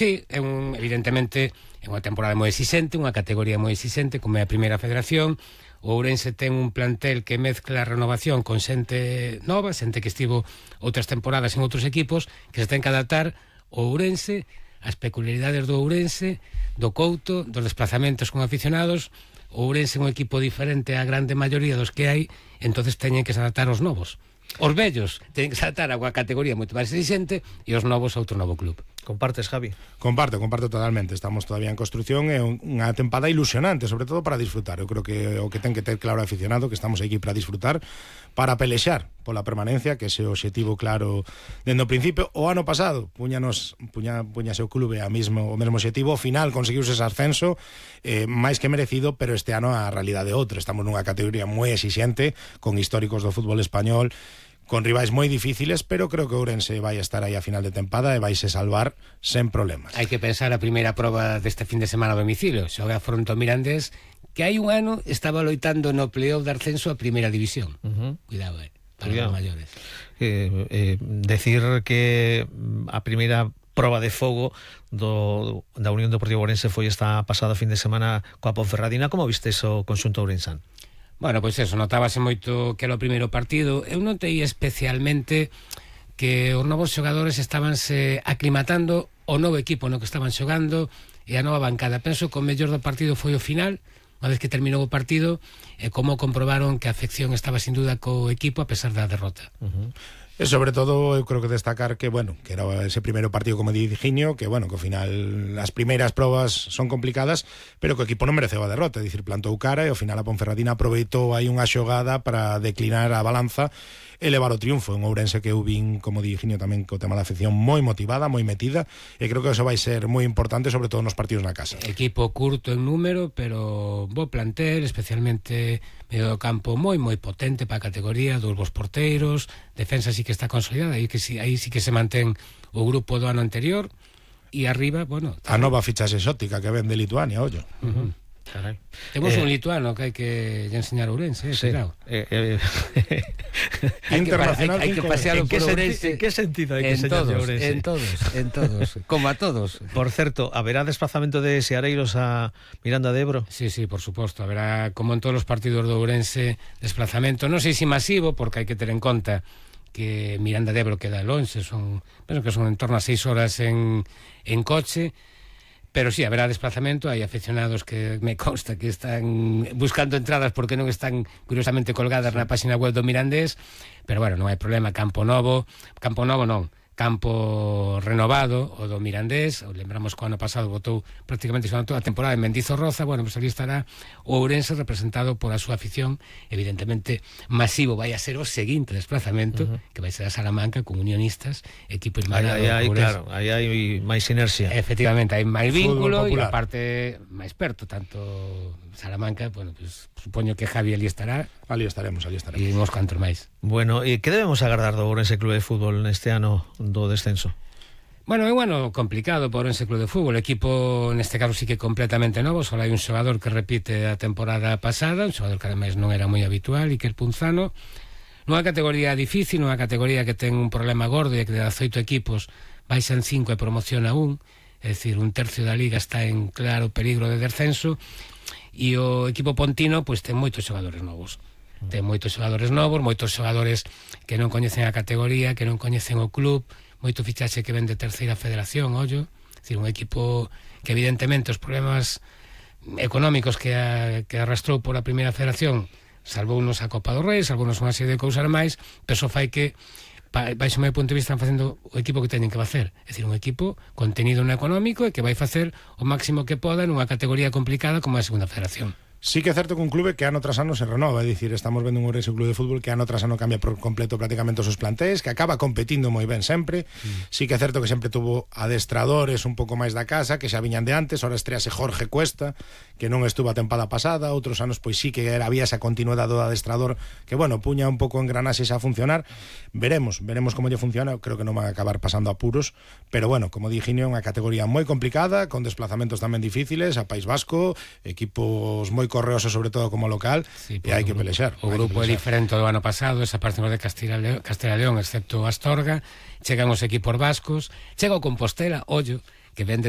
Sí, evidentemente é unha temporada moi exixente, unha categoría moi exixente, como é a primeira federación. O Ourense ten un plantel que mezcla a renovación con xente nova, xente que estivo outras temporadas en outros equipos, que se ten que adaptar o Ourense, as peculiaridades do Ourense, do Couto, dos desplazamentos con aficionados. O Ourense é un equipo diferente á grande maioría dos que hai, entonces teñen que se adaptar aos novos. Os vellos teñen que se adaptar a unha categoría moito máis exigente e os novos a outro novo club. Compartes, Javi? Comparto totalmente. Estamos todavía en construcción, é unha tempada ilusionante, sobre todo para disfrutar. Eu creo que o que ten que ter claro o aficionado, que estamos aquí para disfrutar, para pelexar pola permanencia, que ese objetivo claro dende o principio. O ano pasado puñase o clube o mesmo objetivo, ao final conseguiuse ese ascenso, máis que merecido, pero este ano a realidade é outra. Estamos nunha categoría moi exixente, con históricos do fútbol español, con rivais moi difíciles, pero creo que Ourense vai estar aí a final de tempada e vaise salvar sen problemas. Hai que pensar a primeira proba deste fin de semana a domicilio. Xoga fronte ao Mirandés, que hai un ano estaba loitando no playoff de ascenso a primeira división. Cuidado, para os maiores. Decir que a primeira proba de fogo da Unión Deportiva Ourense foi esta pasada fin de semana coa Ponferradina. Como viste o conxunto ourensán? Bueno, pois eso, notábase moito que era o primeiro partido. Eu notei especialmente que os novos xogadores estabanse aclimatando ao novo equipo no que estaban xogando e a nova bancada. Penso que o mellor do partido foi o final, unha vez que terminou o partido, e como comprobaron que a afección estaba sin duda co equipo a pesar da derrota. E sobre todo eu creo que destacar que, bueno, que era ese primeiro partido como di Higinio, que, bueno, que ao final as primeiras probas son complicadas, pero que o equipo non mereceu a derrota, é dicir, plantou cara e ao final a Ponferradina aproveitou aí unha xogada para declinar a balanza e levar o triunfo. En Ourense que eu vin, como di Higinio tamén, co tema da afección moi motivada, moi metida, e creo que eso vai ser moi importante, sobre todo nos partidos na casa. Equipo curto en número, pero bo plantel, especialmente medio do campo moi potente para a categoría, dos bons porteiros, defensa sí que está consolidada, aí sí que se mantén o grupo do ano anterior, e arriba, bueno... A nova fichaxe exótica que ven de Lituania, ollo. Carai. Temos un lituano que hai que enseñar a Ourense, sí. Claro. Internacional. Hai que pasearlo por Ourense. En que sentido hai que enseñar a Ourense? En todos, como a todos. Por certo, haberá desplazamento de Seareiros a Miranda de Ebro? Sí, por suposto, haberá, como en todos os partidos do Ourense, desplazamento, non sei se masivo, porque hai que ter en conta que Miranda de Ebro queda lonxe, penso que son en torno a 6 horas en coche. Pero sí, haberá desplazamento, hai aficionados que me consta que están buscando entradas porque non están curiosamente colgadas na página web do Mirandés, pero bueno, non hai problema, campo novo non, campo renovado, o do Mirandés. Lembramos que o ano pasado votou prácticamente toda a temporada en Mendizorroza. Bueno, pues ali estará o Ourense representado por a súa afición. Evidentemente masivo vai a ser o seguinte desplazamento, que vai ser a Salamanca con Unionistas, equipo irmanado. Claro, aí hai máis inercia. Efectivamente, hai máis vínculo e aparte máis perto, tanto Salamanca, bueno, pues supoño que Javi ali estará. Ali estaremos. E uns cantos máis. Bueno, e que debemos agardar do Ourense Club de Fútbol neste ano do descenso? Bueno, é un ano complicado por Ourense Club de Fútbol. O equipo, neste caso, sí que completamente novo. Só hai un xogador que repite a temporada pasada, un xogador que ademais non era moi habitual, Iker Punzano. Nunha categoría difícil, nunha categoría que ten un problema gordo, e que de 18 equipos baixan 5 e promociona un. É dicir, un tercio da liga está en claro peligro de descenso. E o equipo pontino pois ten moitos xogadores novos. Ten moitos xogadores novos, moitos xogadores que non coñecen a categoría, que non coñecen o club, moito fichaxe que ven de terceira federación, ollo. É dicir, un equipo que evidentemente os problemas económicos que arrastrou por a primeira federación salvounos a Copa do Rei, salvounos unha serie de cousas máis, pero só fai que baixo o meu punto de vista están facendo o equipo que teñen que facer, é dicir, un equipo contenido no económico e que vai facer o máximo que poda nunha categoría complicada como a segunda federación. Sí que é certo que un clube que ano tras ano se renova, é dicir, estamos vendo un Ourense Club de Fútbol que ano tras ano cambia por completo prácticamente os seus plantéis, que acaba competindo moi ben sempre. Sí que é certo que sempre tuvo adestradores un pouco máis da casa, que xa viñan de antes. Ahora estrease Jorge Cuesta, que non estuvo a tempada pasada. Outros anos pois sí que había esa continuidade do adestrador que, bueno, puña un pouco engranaxes a funcionar. Veremos como lle funciona. Creo que non van a acabar pasando apuros, pero bueno, como di Higinio, unha categoría moi complicada, con desplazamentos tamén difíciles a País Vasco, equipos moi correosos sobre todo como local, sí, e hai que pelexar. O grupo é diferente do ano pasado, esa parte de Castilla e León, excepto Astorga. Chegan os equipos vascos, chega o Compostela, ollo, que vende